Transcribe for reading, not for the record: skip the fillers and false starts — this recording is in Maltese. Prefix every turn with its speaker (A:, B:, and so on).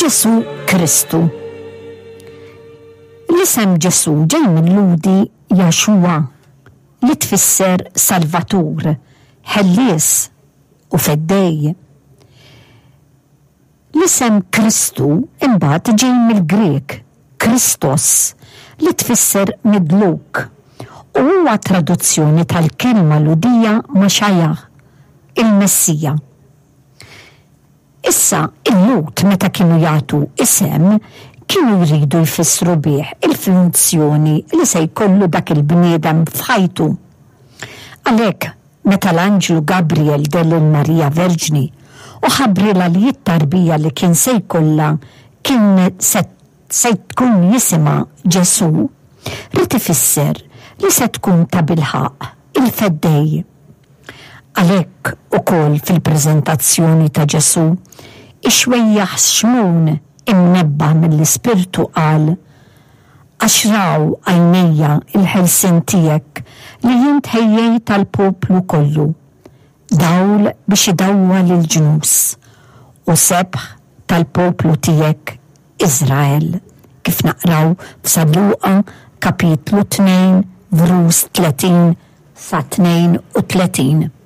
A: Ġesù Kristu. L-isem Ġesù ġej mil-Lhudi Yahshua li tfisser Salvatur, Ħellies u Feddej. L-isem Kristu imbagħad ġej mill-Grieg Christos li tfisser midluk u huwa traduzzjoni tal-kelma Lhudija Mashiach, il-Messija. Issa, il-Lhud meta kienu jagħtu isem, kienu jridu jfissru bih il-funzjoni li se jkollu dak il-bniedem f'ħajtu. Għalhekk, meta l-anġlu Gabriel deher lil Marija Verġni u ħabbrilha li t-tarbija li kien se jkollha kien se se tkun jisimha Ġesù, ried ifisser li se tkun tabilħaqq il-Feddej. Għalhekk ukoll fil-preżentazzjoni ta' Ġesù, ix-xwejjaħ Xmun imnebbaħ mill-Ispirtu qal, Għax raw għajnejja l-ħelsien tiegħek li int ħejjejt għall-poplu kollu, dawl biex idawwal il-ġnus, u sebħ tal-poplu tiegħek Iżrael, kif naqraw f'San Luqa kapitlu 2 vrus 30 sa 32.